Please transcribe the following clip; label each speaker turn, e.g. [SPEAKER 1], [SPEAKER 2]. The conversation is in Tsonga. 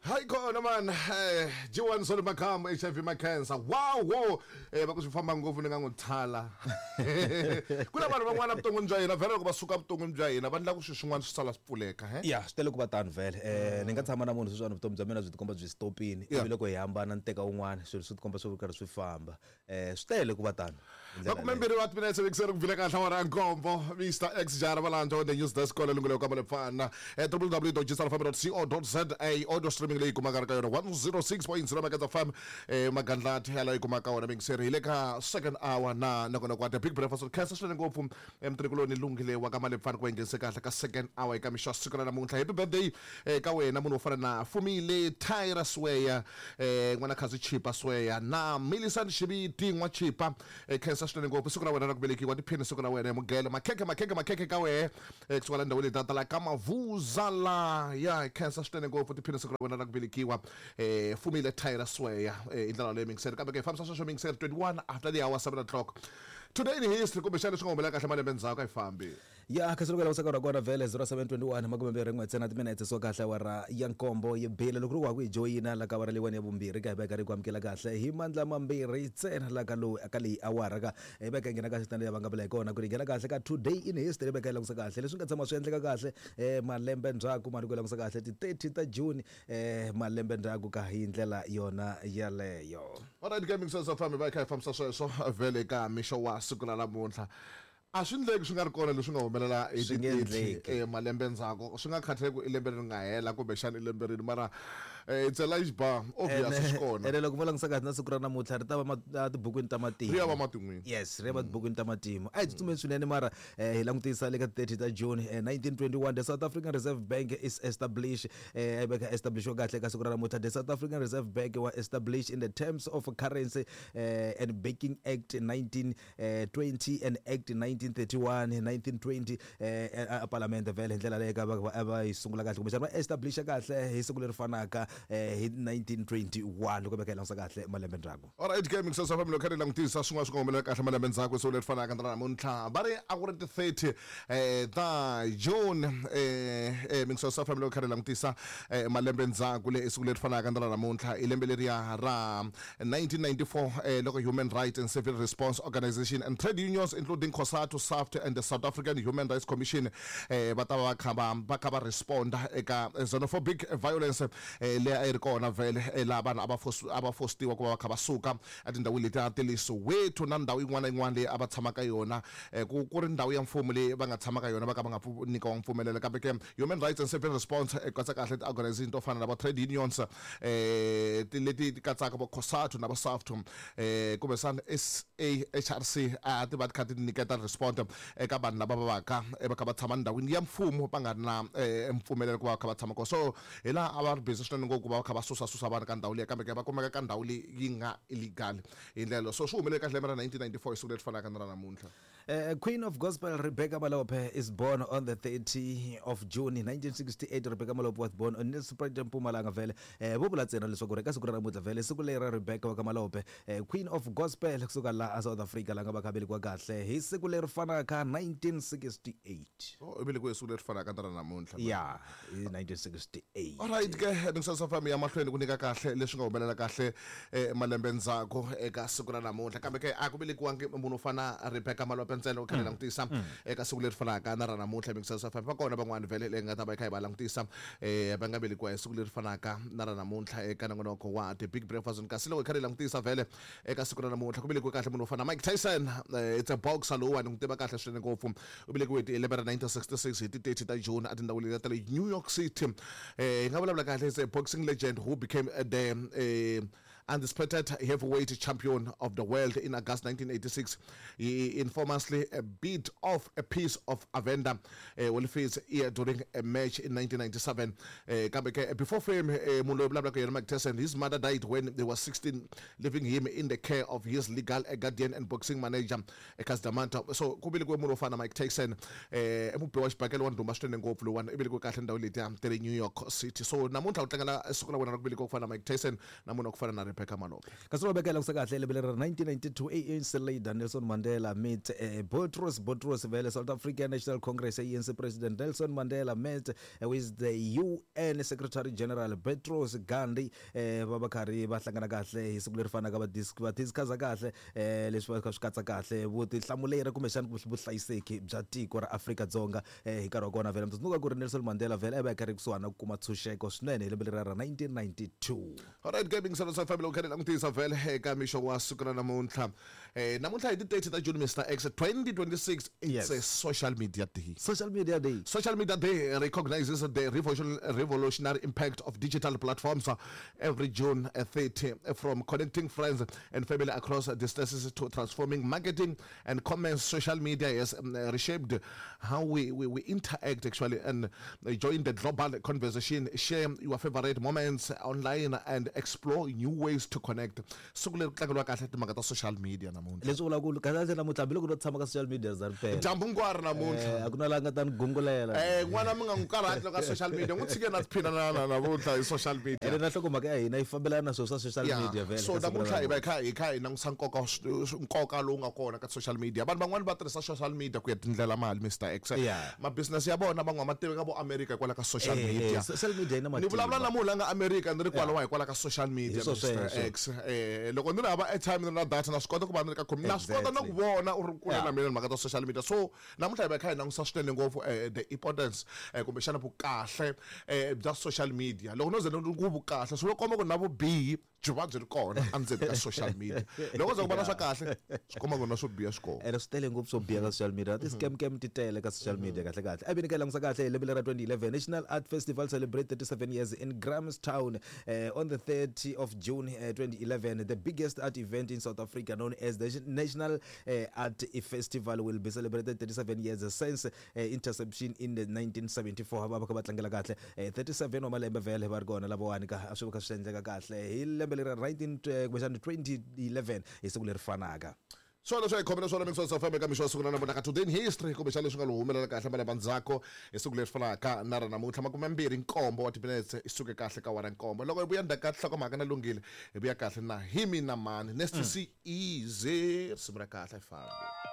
[SPEAKER 1] Hayi khona man, G1 Solly Makamu HIV ma cancer. Wow, wow. Va ku swi famba ngopfu ni nga n'wi thala. Ku na vanhu van'wana vuton'wini bya hina vhele loko va suka vuton'wini bya hina va endla ku swilo swin'wana swi sala swi pfuleka, he?
[SPEAKER 2] Ya, swi tele ku va tano vhele. Ni nga tshama na munhu sweswiwani vutomi bya mina byi tikomba byi stopini, ivi loko hi hambana ni teka un'wana swilo swi tikomba swi ri karhi swi famba. Swi tele ku va tano.
[SPEAKER 1] Makumembirhi wa timinetse vekiseri ku bvile kahle awara ya nkombo. Mr X Jara Valandza on the news desk kwala lungelo ka Malepfana. www.gsrfm.co.za audio streaming leyi kumaka ka yona 106.0 Magandla FM magandlati yalayo yi kumaka wona mingiseri hi le ka second hour na nakona kwa the big breakfast khensa swinene ngopfu mtirikuloni lunghile wa ka Malepfana ku va nghenise kahle ka second hour eka mixo siku ra namuntlha. Happy birthday ka wena munhu wo fana na Fumile Tyra Sweya n'wana Khazi Chipa Sweya na Millicent Xiviti n'wa Chipa khensa swinene ngopfu siku ra wena ra ku velekiwa tiphini siku ra wena hi mugele makhekhe makhekhe makhekhe ka wehe kusuka la ndhawini leti ta la ka Mavuza la ya khensa swinene ngopfu tiphini siku ra wena ra ku velekiwa Fumile Tyra Sweya hi ndlela leyi mingiseri kambe ke hi fambisa sweswo mingiseri 21 after the hour 7 o'clock today in history kumbexana leswi nga humelela kahle malembe ndzhaku a yi fambi.
[SPEAKER 2] Ya kasi loko hi langutisa nkarhi wa kona vhele 0721 makumembirhi n'we ntsena timinetse so kahle awara ya nkombo yi bile loko ri wa ku hi joyina la ka awara leyiwani ya vumbirhi ka hi va hi karhi hi ku amukela kahle hi mandla mambirhi ntsena la ka lowu ka leyi awara ka hi va hi nghena kahle tani leyi va nga vula hi kona ku ri hi nghena kahle ka today in history hi va hi langutisa kahle leswi nga tshama swi endleka kahle malembe ndzhaku mali ku langutisa kahle ti 30 ta June malembe ndzhaku ka hi ndlela yona yaleyo.
[SPEAKER 1] Alright Gaming Sense of Family va hi kha hi fambisa sweswo vhele ka mixo wa siku ra namuntlha. A swi ndleki swi nga ri kona leswi nga humelela hi
[SPEAKER 2] Swi nge
[SPEAKER 1] ti-30
[SPEAKER 2] endleki.
[SPEAKER 1] malembe ndzhaku swi nga khathaleki ku i lembe leri nga hela kumbexana i lembe rini mara it's a large bar obvious
[SPEAKER 2] Ene
[SPEAKER 1] swi kona
[SPEAKER 2] ene loko vo langutisa kahle na siku ra namuntlha ri ta va tibukwini ta matimu.
[SPEAKER 1] Ri ya va matin'wini.
[SPEAKER 2] Yes, ri ya va tibukwini ta matimu. A hi tsutsumeni swinene mara hi langutisa le ka ti-30 ta June 1921 the South African Reserve Bank is established a yi veka establishiwa kahle ka siku ra namuntlha the South African Reserve Bank was established in the terms of Currency and Banking Act 19 20 and Act 1931 1920 a palamende vhele hi ndlela leyi ka va va yi sungula kahle kumbexana va establisha kahle hi siku leri fanaka hi 1921 loko va kha hi langutisa kahle malembe ndzhaku.
[SPEAKER 1] Alright ke mixo swa family kha ri langutisa swin'wana swi nga humelela kahle malembe ndzhaku siku leri fanaka na namuntlha va ri a ku ri ti 30 ta June mixo swa family kha ri langutisa malembe ndzhaku le siku leri fanaka na namuntlha i lembe leriya ra 1994 loko Human Rights and Civil Response Organization and trade unions including COSATU, SAFTU and the South African Human Rights Commission va ta va kha va va kha va responda eka xenophobic violence leyi a yi ri kona vhele laha vanhu a va a va fostiwa ku va va kha va suka etindhawini letiya ta le Soweto na ndhawu yin'wana na yin'wana leyi a va tshama ka yona ku ku ri ndhawu ya mfumo leyi va nga tshama ka yona va ka va nga nyikiwanga mpfumelelo kambe ke Human Rights and Civil Response katsa kahle ti-organization to fana na va trade unions ti leti ti katsaka vo COSATU na va SAFTU kumbexana SAHRC a ti va ti kha ti nyiketa respond eka vanhu lava va va ka va kha va tshama ndhawini ya mfumo va nga ri na mpfumelelo ku va va kha va tshama kona so hi laha a va ri busy swinene ngopfu ku va va kha va susa susa vanhu ka ndhawu liya kambe ke va kumeka ka ndhawu leyi yi nga illegal hi ndlela so swi humelele kahle lembe ra 1994 hi siku leri fanaka na ra namuntlha.
[SPEAKER 2] Queen of Gospel Rebecca Malope is born on the 30 of June 1968. Rebecca Malope was born on Nelspruit, Mpumalanga vhele. Vo vula ntsena leswaku ri eka siku ra namuntlha vhele siku leri ra Rebecca wa ka Malope, Queen of Gospel kusuka la a South Africa la nga va kha velekiwa kahle hi siku leri fanaka 1968.
[SPEAKER 1] Oh, i velekiwe hi siku leri fanaka na ra namuntlha.
[SPEAKER 2] Ya, hi 1968.
[SPEAKER 1] Alright ke mingisasa fam ya mahlweni ku nyika kahle leswi nga humelela kahle malembe ndzhaku eka siku ra namuntlha kambe ke a ku velekiwangi munhu wo fana Rebecca Malope ntsena u kha langutisa eka siku leri fanaka na ra namuntlha mingisasa fam va kona van'wana vhele leyi nga ta va yi kha yi va langutisa va nga velekiwa hi siku leri fanaka na ra namuntlha eka nongonoko wa The Big Breakfast kasi loko hi kha hi langutisa vhele eka siku ra namuntlha ku velekiwe kahle munhu wo fana Mike Tyson it's a boxer lowuwani n'wi tiva kahle swinene ngopfu U velekiwe hi lembe ra 1966 hi ti 30 ta June etindhawini letiya ta le New York City. Hi nga vulavula kahle is a boxing legend who became the undisputed heavyweight champion of the world in August 1986. He infamously bit off a piece of Evander Holyfield's ear during a match in 1997. Kambe ke before fame, munhu loyi vulavulaka yena Mike Tyson, his mother died when he was 16, leaving him in the care of his legal guardian and boxing manager Cus D'Amato. So ku velekiwe munhu wo fana na Mike Tyson, i mubi wa xibakele wa ndhuma swinene ngopfu lowuwani, i velekiwe kahle ndhawu letiya ta le New York City. So namuntlha u tlangela siku ra wena ra ku velekiwa ku fana na Mike Tyson na munhu wa ku fana na Rebecca. Rebecca Malope.
[SPEAKER 2] Kasi ro vekela kusa kahle lembe leri ra 1992, ANC leader Nelson Mandela meet Boutros Boutros vele. South African National Congress ANC President Nelson Mandela met with the UN Secretary General Boutros Ghali. Va va karhi va hlangana kahle hi siku leri fanaka, va discussa kahle leswi va kha swi katsa kahle vutihlamuleri kumbexana vuhlayiseki bya tiko ra Afrika-Dzonga hi nkarhi wa kona. Vhele mi tsundzuka ku ri Nelson Mandela vhele a va karhi kusuhani na ku kuma ntshunxeko swinene hi lembe leri ra 1992.
[SPEAKER 1] Alright, gaming salo sa family ukhale langutisa vhele eka mixo wa siku ra namuntlha. Namuntlha hi ti 30 ta June, Mr X, 2026, it's a social media day.
[SPEAKER 2] Social media day.
[SPEAKER 1] Social Media Day recognizes the revolutionary impact of digital platforms every June 30, from connecting friends and family across distances to transforming marketing and commerce. Social media has reshaped how we interact actually and join the global conversation, share your favorite moments online and explore new ways to connect. Siku leri ku tlangeriwa kahle timhaka ta social media namuntlha.
[SPEAKER 2] Leswi vulaka ku kahle kahle namuntlha, hambiloko no tshama ka social media za ri pela.
[SPEAKER 1] Dyambu hinkwaro namuntlha.
[SPEAKER 2] A ku na laha nga ta ni gungulela.
[SPEAKER 1] N'wana mi nga n'wi karhati loko ka social media, n'wi tshike na tiphina na namuntlha hi social media.
[SPEAKER 2] Ene na nhlokomhaka ya hina yi fambelana na swilo swa social media vhele.
[SPEAKER 1] So
[SPEAKER 2] ka siku ra
[SPEAKER 1] namuntlha hi va hi
[SPEAKER 2] namuntlha.
[SPEAKER 1] kha hi langutisa nkoka lowu nga kona ka social media. Vanhu van'wani va tirhisa social media ku ya tindlela mali, Mr X. Ma business ya vona van'wana ma tiveka vo America hikwalaho ka social media.
[SPEAKER 2] Social media yi na
[SPEAKER 1] Ni vulavula
[SPEAKER 2] matimba.
[SPEAKER 1] Na munhu la nga America ni ri kwalawa hikwalaho ka social media.
[SPEAKER 2] Hi swo
[SPEAKER 1] Mr
[SPEAKER 2] sweswo.
[SPEAKER 1] X, loko ni ri hava airtime, ni ri na data, na swi kota ku va ni ri ka na swi kota na ku vona u ri kule na mina mhaka ta social media. So namuntlha hi va hi kha hi langutisa swinene ngopfu the importance, kumbexana vukahle bya social media. Loko no ze ni ku vukahle, swi lo komba ku na vubihi byi va byi ri kona endzeni ka social media. Loko ze ku va na swa kahle, swi komba ku na swo biha swi kona.
[SPEAKER 2] Ene swi tele ngopfu swo biha ka social media, ti-scam cam ti tele ka social media kahle kahle. A vi ni ka yi langusa kahle hi lembe lera 2011, National Art Festival celebrate 37 years in Grahamstown on the 30 of June 2011. The biggest art event in South Africa, known as the National Art Festival, will be celebrated 37 years since interception in the 1974. Va va kha va tlangela kahle 37 wa malembe vhele va ri kona lavawani ka a swi va kha swi endleka kahle hi lembe leri ra 19 kumbexana 2011 hi siku leri fanaka.
[SPEAKER 1] Swona swa hi khomela swona mixo FM eka mixo wa siku ra namuntlha ka Today in History, kumbexana leswi nga lo humelela kahle malembe ndzhaku hi siku leri fanaka na ra namuntlha. 27 wa timinetse i suke kahle ka wara 7. Loko hi vuya ndzhaku ka nhlokomhaka na Lunghile, hi vuya kahle na hi mina mani Nasty C Easy. Risimu ra kahle, hi fambi.